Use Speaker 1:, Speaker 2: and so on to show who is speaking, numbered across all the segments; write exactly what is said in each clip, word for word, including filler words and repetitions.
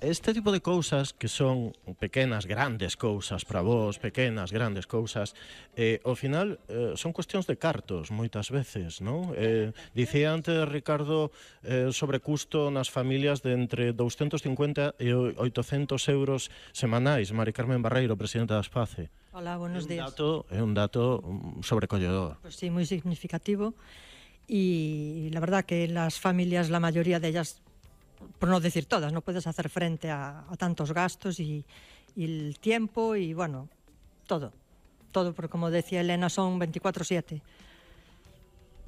Speaker 1: Este tipo de cousas que son pequenas, grandes cousas para vos, pequenas, grandes cousas, eh, ao final eh, son cuestións de cartos moitas veces, non? Eh, dicía antes Ricardo eh, sobre custo nas familias de entre douscentos cincuenta e oitocentos euros semanais. Mari Carmen Barreiro, presidenta da SPACE.
Speaker 2: Hola, buenos días.
Speaker 1: É un dato sobrecolledor.
Speaker 2: Pues sí, muy significativo, y la verdad que las familias, la mayoría de ellas, por no decir todas, no puedes hacer frente a, a tantos gastos y, y el tiempo y, bueno, todo. Todo, porque como decía Elena, son veinticuatro siete.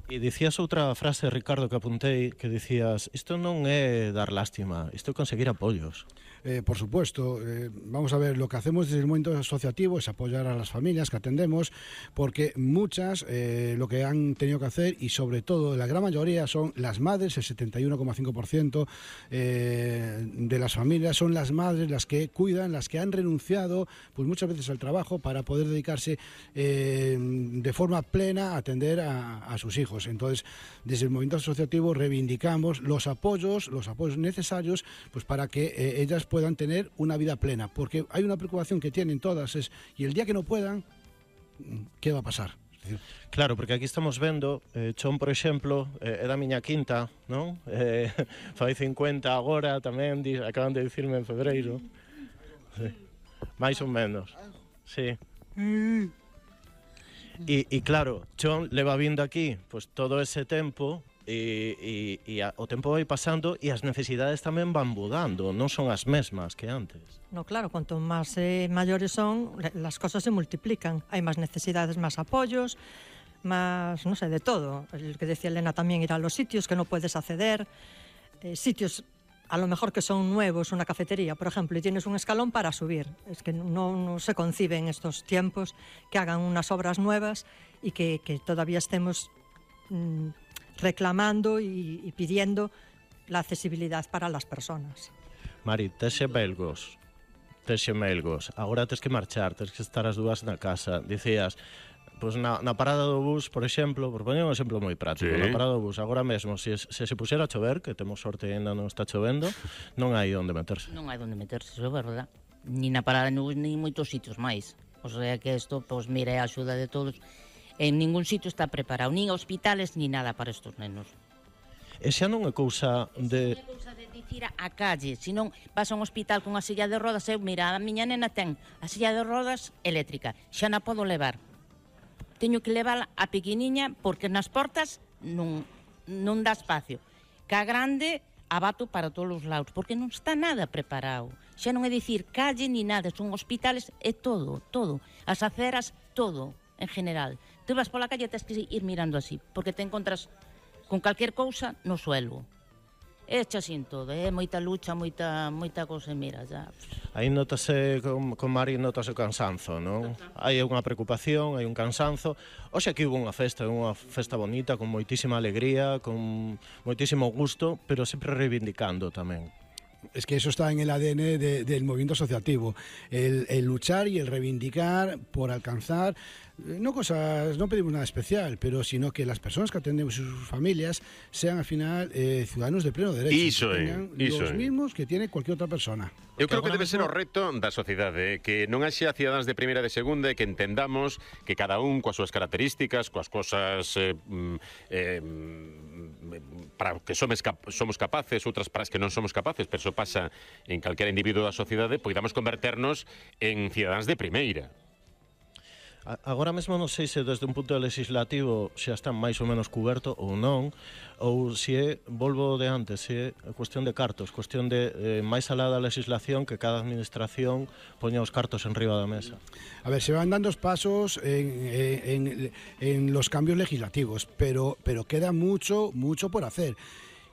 Speaker 1: E dicías outra frase, Ricardo, que apuntei, que dicías, isto non é dar lástima, isto é conseguir apoios.
Speaker 3: Eh, por supuesto, eh, vamos a ver, lo que hacemos desde el momento asociativo es apoyar a las familias que atendemos, porque muchas eh, lo que han tenido que hacer, y sobre todo la gran mayoría son las madres, el setenta y uno coma cinco por ciento eh, de las familias son las madres las que cuidan, las que han renunciado pues muchas veces al trabajo para poder dedicarse eh, de forma plena a atender a, a sus hijos. Entonces, desde el movimiento asociativo reivindicamos los apoyos, los apoyos necesarios pues para que eh, ellas puedan tener una vida plena, porque hay una preocupación que tienen todas, es, y el día que no puedan, ¿qué va a pasar?
Speaker 1: Claro, porque aquí estamos vendo, eh, Chon, por exemplo, eh, é da miña quinta, non? Eh, fai cincuenta agora tamén, di, acaban de dicirme en febreiro. Sí. Mais ou menos, sí. E, e claro, Chon leva vindo aquí pues, todo ese tempo, e, e, e a, o tempo vai pasando e as necesidades tamén van mudando, non son as mesmas que antes.
Speaker 2: No, claro, cuanto más eh, mayores son, las cosas se multiplican. Hay más necesidades, más apoyos, más, no sé, de todo. El que decía Elena también, ir a los sitios que no puedes acceder, eh, sitios a lo mejor que son nuevos, una cafetería, por ejemplo, y tienes un escalón para subir. Es que no, no se concibe en estos tiempos que hagan unas obras nuevas y que, que todavía estemos mmm, reclamando y, y pidiendo la accesibilidad para las personas.
Speaker 1: Mari, tes xemelgos, tes xemelgos, agora tes que marchar, tes que estar as dúas na casa. Dicías, pois na, na parada do bus, por exemplo, por poñer un exemplo moi práctico, sí. Na parada do bus, agora mesmo, se, se se puxera a chover, que temos sorte e ainda non está chovendo, non hai onde meterse.
Speaker 4: Non hai onde meterse, iso é verdad. Ni na parada no bus, ni moitos sitios máis. O sea que isto, pois mira, é a axuda de todos. En ningún sitio está preparado, nin hospitales, ni nada para estos nenos.
Speaker 1: E xa non é cousa de...
Speaker 4: Non é cousa de dicir a calle, senón vas a un hospital con a silla de rodas, eu, mira, a miña nena ten a silla de rodas eléctrica, xa na podo levar. Teño que levar a pequeniña porque nas portas non, non dá espacio. Que a grande abato para todos os lados, porque non está nada preparado. Xa non é dicir calle ni nada, son hospitales, é todo, todo. As aceras, todo, en general. Tú vas pola calle e tens que ir mirando así, porque te encontras con calquer cousa no suelo. É xa sin todo, é moita lucha, moita moita cousa, mira, xa.
Speaker 1: Aí notase, con, con Mari notase o cansanzo, non? Hai unha preocupación, hai un cansanzo. Oxe, aquí hubo unha festa, unha festa bonita, con moitísima alegría, con moitísimo gusto, pero sempre reivindicando tamén.
Speaker 3: Es que eso está en el A D N de, del movimiento asociativo, el, el luchar y el reivindicar por alcanzar, no cosas, no pedimos nada especial, pero sino que las personas que atendemos y sus familias sean al final eh, ciudadanos de pleno derecho,
Speaker 5: iso
Speaker 3: que
Speaker 5: é,
Speaker 3: tengan
Speaker 5: iso
Speaker 3: los
Speaker 5: é.
Speaker 3: mismos que tiene cualquier otra persona.
Speaker 5: Eu creo que debe ser o reto da sociedade, que non haxa cidadáns de primeira e de segunda, e que entendamos que cada un coas súas características, coas cosas eh, eh, para que somos, cap somos capaces, outras para as que non somos capaces, pero eso pasa en calquera individuo da sociedade, poidamos converternos en cidadáns de primeira.
Speaker 1: Agora mesmo non sei se desde un punto legislativo xa está máis ou menos cuberto ou non, ou se é, volvo de antes, se é cuestión de cartos, cuestión de eh, máis alá da legislación, que cada administración poña os cartos en riba da mesa.
Speaker 3: A ver, se van dando pasos en, en, en los cambios legislativos, pero, pero queda mucho, mucho por hacer.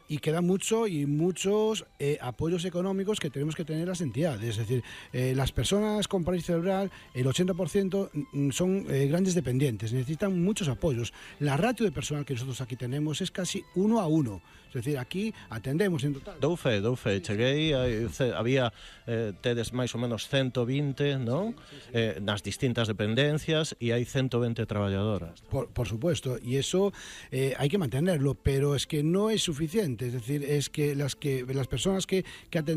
Speaker 3: Y queda mucho y muchos eh, apoyos económicos que tenemos que tener las entidades. Es decir, eh, las personas con parálisis cerebral, el ochenta por ciento son eh, grandes dependientes, necesitan muchos apoyos. La ratio de personal que nosotros aquí tenemos es casi uno a uno. Es decir, aquí atendemos en total.
Speaker 1: Dou fe, dou fe. Cheguei, había, eh, tedes máis ou menos ciento vinte, non? Eh, nas distintas dependencias, e hai ciento vinte traballadoras.
Speaker 3: Por, por supuesto, y eso eh, hay que mantenerlo, pero es que no es suficiente. Es decir, es que las que las personas que, que atendemos